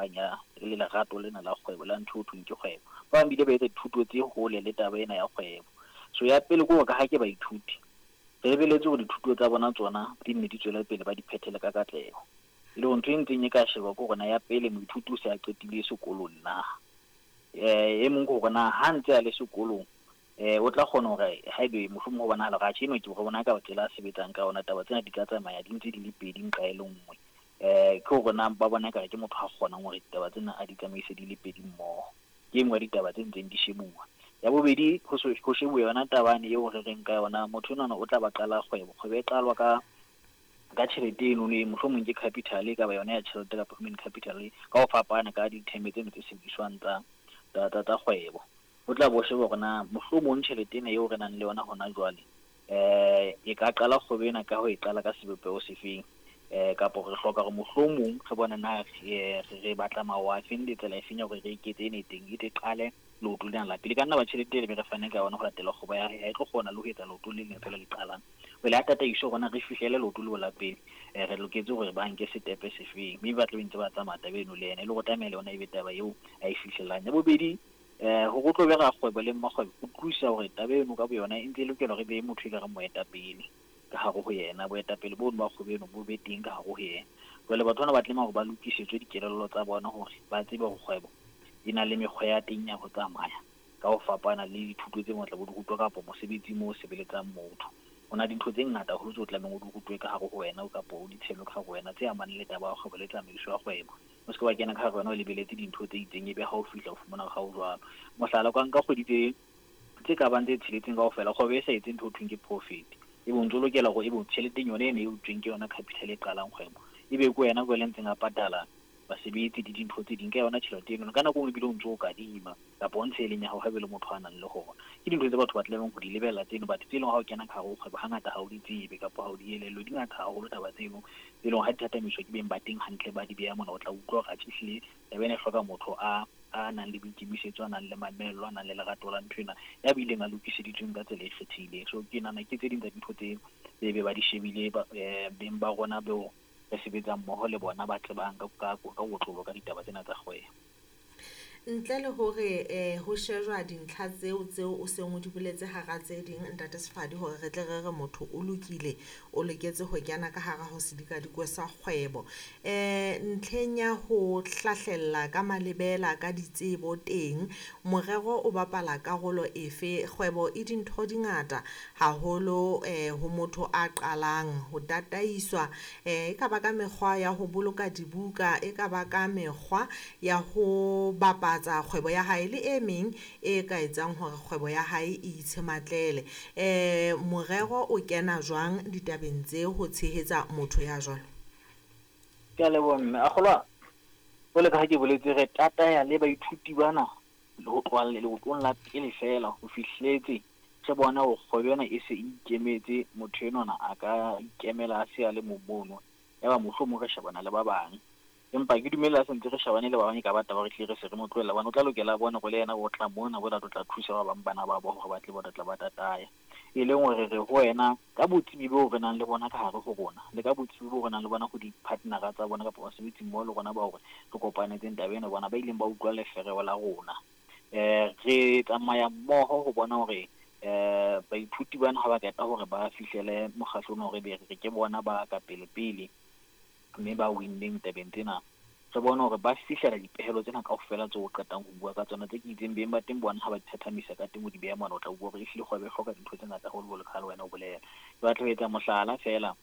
hohang ya le lerato lena la kgwebo la ntho ho thweng ke kgwebo. Ba bang bile ba etsa dithuto tse hole le taba ena ya kgwebo. So ya pele ke hore ka ha ke baithuti, re lebeletse hore dithuto tsa bona tsona di nne di tswele pele ba di phethele ka katleho. E le hore ntho e ntseng e ka sheba ke hore na ya pele moithuti o se a qetile sekolong na. E mong ke hore na ha ntse a le sekolong o tla kgona hore haebe mohlomong ho bonahala hore atjhe enwa ke re bona ka tsela a sebetsang ka yona, taba tsena di ka tsamaya di ntse di le pedi nqa e le nngwe. Ke hore na ba bona ekare ke motho a kgonang hore ditaba tsena a di tsamaise di le pedi mmoho. Ke e nngwe ya ditaba tse ntseng di shebuwa. Ya bobedi, ho shebuwa yona tabane eo re reng ka yona, motho enwana o tla ba qala kgwebo. Kgwebo e qalwa ka tjhelete eno e mohlomong ke capital, e ka ba yona ya tjhelete kapa human capital, ka ho fapana ka ditheme tseno tse sebediswang tsa kgwebo. O tla bo sheba hore na mohlomong tjhelete ena eo re nang le yona hona jwale, e ka qala kgwebo ena ka ho e qala ka sebopeho sefeng, kapa re hloka hore mohlomong re bone na re batla mawa a feng le tsela e feng ya hore re eketse ena e teng, e tle qale leoto lena la pele. E ka nna ba tjhelete e be re fane ka yona ho latela kgwebo ya hae, ha e tlo kgona le ho etsa leoto le leng fela le qalang. Jwale ha tataiso rona re fihlele leoto leo la pele, re loketse hore ba nke setepe sefeng, mme ba tla be ntse ba tsamaya taba eno le yena, e le hore tlameha le yona e be taba eo a e fihlelang. Ya bobedi, hore o tlo be rakgwebo le mmakgwebo, o utlwisisa hore taba eno ka boyona e ntse e lokela hore e be motho e ka reng moetapele ka hare ho yena. Boetapele bono ba kgwebo eno bo be teng ka hare ho yena. Jwale batho bana ba tlameha hore ba lokisetswe dikelello tsa bona hore ba tsebe hore kgwebo e na le mekgwa ya teng ya ho tsamaya ka ho fapana le dithuto tse ngata bo di rutwa kapa mosebetsi moo o sebeletsang motho. Ho na dintho tse ngata haholo tseo tlamehang o di rutwe ka hare ho wena kapa o di tshelwe ka hare ho wena tse amanang le taba ya kgwebo le tsamaiso ya kgwebo. O se ke wa kena ka hare wena o lebeletse dintho tse itseng, ebe ha o fihla o fumana hore ha o jwalo. Mohlala, o ka nka kgwedi tse ka bang tse tsheletseng kaofela, kgwebo e sa etse ntho ho thweng ke profit. Ebe o ntso lokela hore ebe tjheleteng yona ena e utsweng ke yona capital e qalang kgwebo, ebe ke wena jwale ntseng a patala basebetsi le dintho tse ding ka yona tjhelete eno. Ka nako e nngwe ebile o ntso o kadima kapa o ntshe e leng ya hao haebe le motho a nang le hona. Ke dintho tse batho ba tlamehang ho di lebella tseno, batho tse leng ha o kena ka hare ho kgwebo hangata ha o di tsebe kapa ha o di elellwe. Di ngata haholo taba tseno tse leng ha di thathamiswa ke beng ba teng hantle, ba di beha mona, o tla utlwa hore atjhe ehlile taba ena e hloka motho a nang le boikemisetso, a nang le mamello, a nang le lerato la ntho ena, ya bileng a lokiseditsweng ka tsela e kgethehileng. So ke nahana ke tse ding tsa dintho tse be ba di shebile beng ba rona beo re sebetsang mmoho le bona, ba tsebang ka kotlolo ka ditaba tsena tsa kgwebo. Ntle le hore ho shejwa dintlha tseo tseo o seng o di boletse hara tse ding, Ntate Sefadi, hore re tle re re motho o lokile, o loketse ho kena ka hara ho sedikadikwe sa kgwebo. Ntlheng ya ho hlahlella ka malebela ka ditsebo teng, morero o bapala karolo efe? Kgwebo e dintho di ngata haholo ho motho a qalang ho tataiswa, e ka ba ka mekgwa ya ho boloka dibuka, e ka ba ka mekgwa ya ho bapatsa kgwebo ya hae le e meng e ka etsang hore kgwebo ya hae e itshematlele. Morero o kena jwang ditabeng tse ho tshehetsa motho ya jwalo? Ke a leboha mme. A kgolwa jwale ka ha ke boletse, re tataya le baithuti bana ho tloha leotong la pele fela ho fihletse re bona hore kgwebo ena e se e ikemetse, motho enwana a ka ikemela a se a le mong mono, ya ba mohlomong re shebana le ba bang. Empa ke dumela se ntse re shebane le ba bang, e ka ba taba re hlile re se re mo tlohella, hobane o tla lokela a bone hore le yena o tla mona, o tla thusa ba bang bana ba bo hore ba tle ba tla ba tataya. E leng hore re ho wena ka botsebi boo re nang le bona ka hare ho rona, le ka botsebi boo re nang le bona ho di-partnera tsa bona kapa basebetsi mmoho le rona ba hore re kopanetseng taba ena, bona ba ileng ba utlwa lefereo la rona. Re tsamaya mmoho ho bona hore baithuti bana ha ba qeta hore ba fihlele mokgahlong hore be re ke bona ba ka pele pele mme ba winneng tabeng tsena, re bone hore ba fihlela dipehelo tsena kaofela tseo o qetang ho bua ka tsona, tse ke itseng beng ba teng bona ha ba di thathamisa ka teng o di beha mona, o tla bua hore ehlile kgwebo e hloka dintho tse ngata haholo jwalo ka ha le wena o bolela. Ke batla ho etsa mohlala feela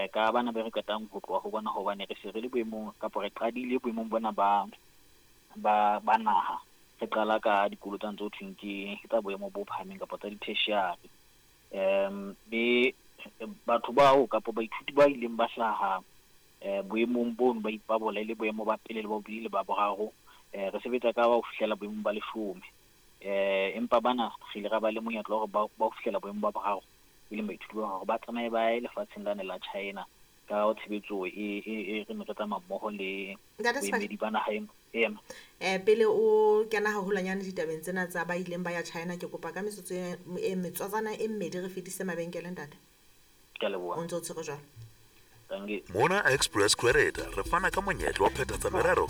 ka bana be re qetang ho tloha ho bona, hobane re se re le boemong kapa re qadile boemong bona ba naha, re qala ka dikolo tsa ntse ho thweng ke tsa boemo bo phahameng kapa tsa di-tertiary. Be batho bao kapa baithuti ba ileng ba hlaha boemong bono ba ipabola e le boemo ba pele le ba bobedi le ba boraro, re sebetsa ka ho fihlela boemong ba 10. Empa bana re ile ra ba le monyetla wa hore ba ho fihlela boemong ba boraro, e leng baithuti ba hore ba tsamaye ba ye lefatsheng lane la China ka tshebetso e re ne re tsamaya mmoho le boemedi ba naha ena. Pele o kena haholwanyane ditabeng tsena tsa ba ileng ba ya China, ke kopa ka metsotso e metsotswana e mmedi re fetise mabenkele, ntate. Ke a leboha. O ntse o tshwere jwalo. Mona Express Credit re fana ka monyetla wa phethatsa merero ka